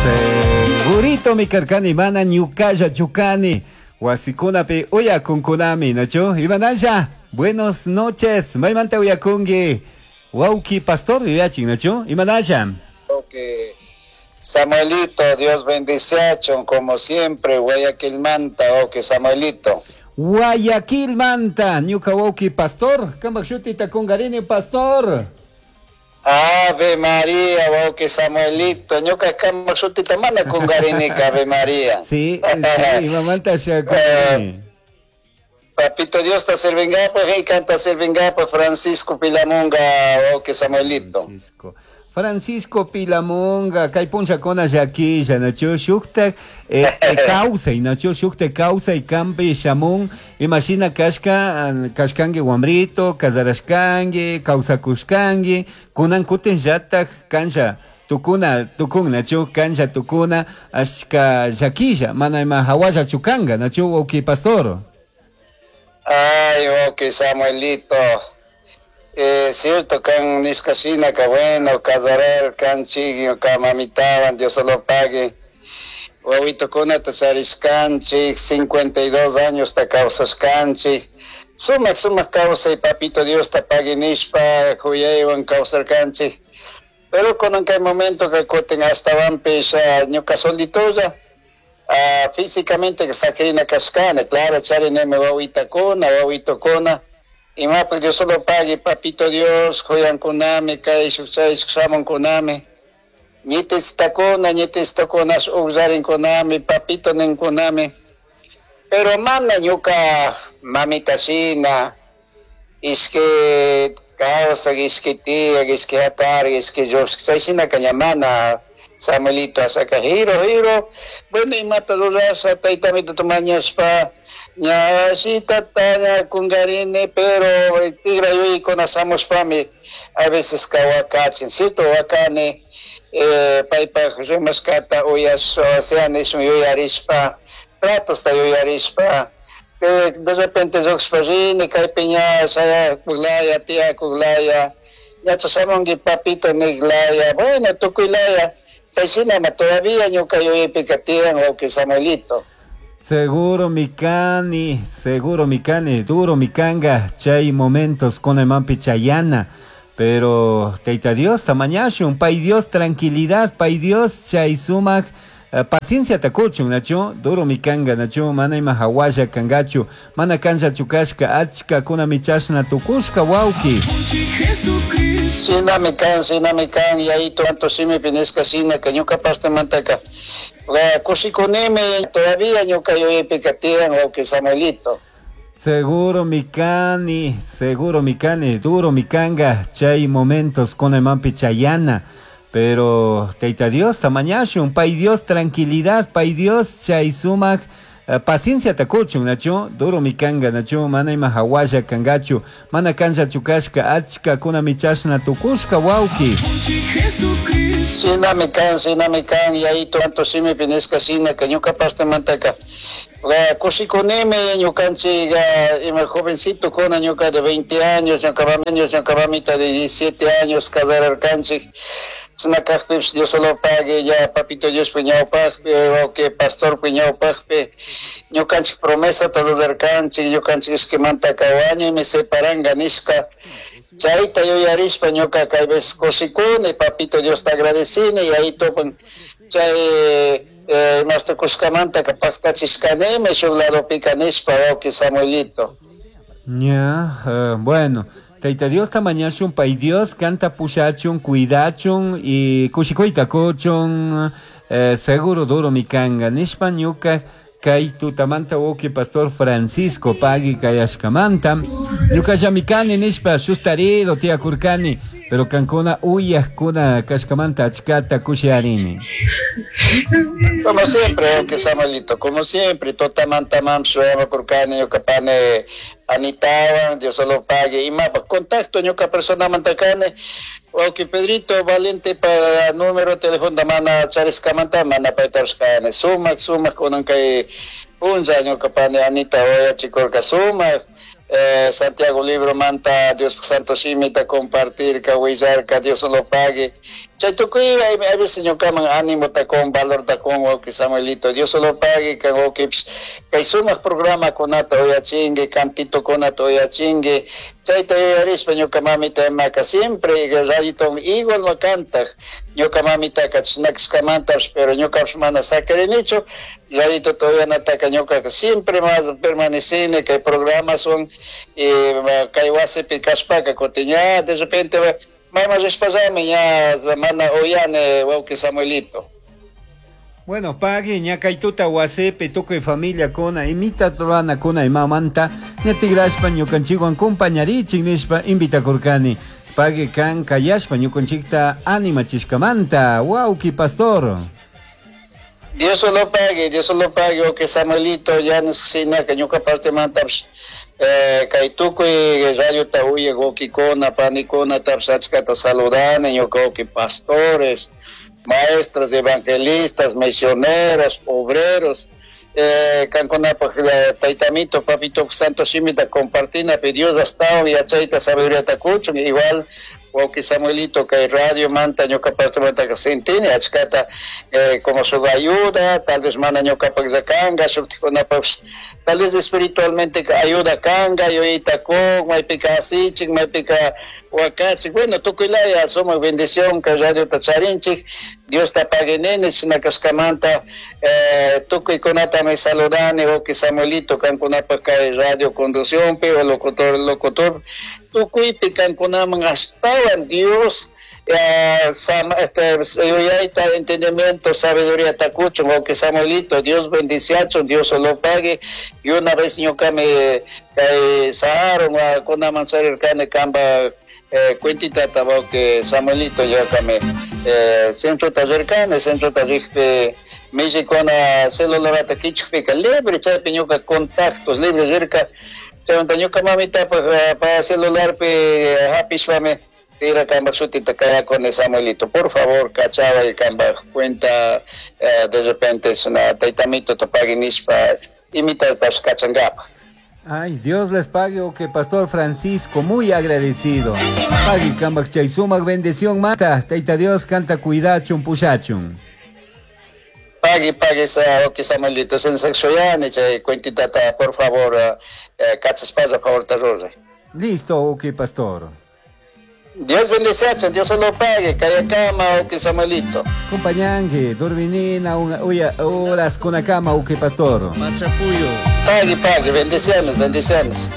Segurito mi karkani mana ñukalla chukani. Wasikunapi uyakunkunami, nachu? Imanalla, buenos noches. Maymanta uyakunki. Wawki pastor yuyachin, nachu? Imanalla. Okay. Samuelito, Dios bendiciachun, como siempre, Guayaquilmanta, ok, Samuelito. Guayaquilmanta, ñuka wawki pastor, kambak shutita kungarini pastor. Ave María, wawki Samuelito, ñuka kambak shutita mana kungarinika, Ave María. Sí, sí, imamanta shakungarini. Papito Dios ta sirvingapaj, hey, canta sirvingapaj, Francisco Pilamunga, wawki Samuelito. Francisco. Francisco Pilamunga, kay punllakuna llakilla, nachu shuktak este kawsay, nachu shuktak kawsay kampi shamun, imashina kashka, kashkanki wambrito, casarashkanki, kawsakushkanki, kunan kutin llatak kanlla tukuna, tukun, nachu kanlla tukuna, ashka llakilla, mana ima hawalla chukanga, nachu wawki pastor. Ay, wawki Samuelito. Cierto, kan nishka shina ka bueno, casarar kanchik, ñuka mamitawan, Dios lo pague. Wawitokunata charishkanchik, 52 años ta kawsashkanchik. Sumak, sumak kawsay, papito Dios ta pague nishpa, kuyaywan kawsarkanchik. Pero kunan kay momento ka kutin ashtawanpish, ñuka solitolla, físicamente sakrina kashkani, claro, charinimi wawitakuna, wawitokuna. Imapak Dios solo pague, papito Dios, kuyankunami, kayshuk, chayshuk, shamunkunami. Ñitistakuna, ñitistakuna, ugllarinkunami, papito ninkunami. Pero mana ñuka mamita shina, ishki kawsak, ishki tiyak, ishki hatari, ishki llushk, chay shinaka ña mana Samuelito asaka hiro, hiro. Bueno, imata rurasha, taytamito mañashpa, ña shitata, ña kungarini, pero tigra yuyaykuna shamushpami, a veces kawakachin, cierto, wakani, paypak rimashkata uyash, o sea, nishun yuyarishpa, tratosta yuyarishpa, de repente lluqshpa rini, kaypi ña shayakuklaya, tiyakuklaya, ñachu shamunki papito niklaya, bueno, tukuylaya, chay shinama todavía ñuka yuyaypika tiyan, wawki Samuelito. Seguro mi cani, seguro mi cani, duro mi canga, chay momentos con el mampi chayana, pero Teita Dios, tamañashun, pay Dios, tranquilidad, pay Dios, chay sumak, paciencia takuchun, nachu, duro mi canga, nachu, mana ima hawalla kangachu, mana kancha chukashka, achka kuna michashna tukushka, wauki. Shinami kan, shinami kan, yayito, anto shimi pinisca shina, que ñuka parte mantaka. Kushikunimi, todavía ñuka yuyaypika tiyan, wauki Samuelito. Seguro mi cani, seguro mi cani, duro mi canga, chay momentos con el mampi chayana, pero Teita Dios, tamañashun, pay Dios, tranquilidad, pay Dios, chay sumak, paciencia takuchun, nachu, duro mi canga, nachu, mana ima hawalla kangachu, mana kancha chukashka, achka kuna michashna tukushka, wauki. Shinami kan, shinami kan, yayito, anto shimi pinisca shina, que ñuka parte mantaka. Kushikunimi, ñukanchik, ima jovencito kuna ñuka de 20 años, ñuka años, ñuka mamita de 17 años, casararkanchik. China kajpipish Dios solo pague, ya papito Dios puñawpajpi, o que pastor puñawpajpi, ñukanchik promesa rurarkanchik, ñukanchik ishkimanta wañuymi separanga nishka. Chayta yuyarishpa ñuka kay veces kushikuni, papito Dios te agradecini, y ahí topan chay, imasta kushkamanta ka paktachishkanimi, shuk ladopika nishpa, wawki Samuelito. Ya, bueno. Tayta Dios tamañashun, pay Dios canta pushachun, cuidachun y kushikuyta kuchun, seguro duro mi kanga. Nishpa ñuka kay tutamanta wawki pastor Francisco pagui kayashkamanta. Ñuka llamikani nishpa shustarido tiyakurkani, pero kankuna uyajkuna kashkamanta achkata kushiarini. Como siempre, wawki Samuelito, como siempre, tutamanta mam shuyakurkani, ñuka pane Anitawan, Dios lo pague. Y más, contacto ñuka persona mantakane, wawki Pedrito Valente para número de teléfono da mana chariskamanta, mana paitarskane. Sumak, sumak, kunan kay punlla ñuka pane Anita oya chikorka sumak. Santiago Libro manta, Dios Santo Shimita compartir, ka huillarka, Dios lo pague. Chay tukuy a veces ñukaman ánimota kun, valorta kun, wawqi Samuelito. Dios solo pague kan wawqipish kay sumaq programakunata uyachinki, cantitokunata uyachinki. Chayta yuyarispa ñuka mamita imaka siempre radioton igual ma kantaq. Ñuka mamitaka chashna kashkamantapish, pero ñukapish mana sakirinichu. Radiotota uyanataka ñukaka siempre más permanecini kay programaswan y kay wasipi kashpaka kutin ña de repente mayman rishpallami ña mana uyani, wawqi Samuelito. Bueno, pagui, ña kay tuta wasipi tukuy familiakuna imita ruranakuna imamanta ña tigrashpa ñukanchikwan compañarichik nishpa invitakurkani. Pagui kan kayashpa ñukanchikta animachishkamanta, wawqi pastor. Dios lo pague, Dios lo pague, wawqi Samuelito, ya shinaka ñuka partemantapish kay tukuy radiota uyak wawqikuna, panikunatapish achkata saludani, ñuka wawqi pastores, maestros, evangelistas, misioneros, obreros, kankunapaj taytamito, papito santo shimita compartinapi Dios astawan yachayta sabiduríata kuchun, igual wawqi Samuelito kay radio manta ñuka partemantaka sentini achkata como shuk ayuda, tal vez mana ñukapaklla kanka, shuktikunapakpish tal vez espiritualmente ayuda kanka, yuyayta kun, maypika asichin, maypika wakachik, bueno, tukuylaya sumak bendición kay radiota charinchik, Diosta pague nini, shina kashkamanta tukuykunatami saludani, wawqi Samuelito, kankunapak kay radio conduccionpi o locutor, tukuypi kankunaman ashtawan Dios yuyayta, entendimiento, sabiduría kuchun, wawqi Samuelito, Dios bendiciachun, Dios lo pague, y una vez ñukami kay saharon kunaman charirkani kanpa cuentitata wawqi Samuelito, ñukami centrota rirkani, centrota rikpi millikuna celularata kichukpika libre chaypi ñuka contactos libre rirka, chaymanta ñuka mamitapaj pa celularpi hapishpami tira kanpak shutita kayakuni Samuelito, por favor kachaway kanpak cuenta de repente es una taytamitota pagui nishpa imitatash kachankapak. Ay, Dios les pague, o que Pastor Francisco, muy agradecido. Pagui kanpak chay sumak bendición mata, Tayta Dios kanta cuidachun pushachun. Pagui, pagui, wawqi Samuelito, sensaxoyani chay cuentitata, por favor, kachaspalla, favor ta ruray. Listo, ok, pastor. Dios bendice, Dios se lo pague, kayakama, wawqi Samuelito. Compañangue, dorminina, uya, horas con la cama, ok, pastor. Machapuyo. Pague, pague, bendiciones, bendiciones.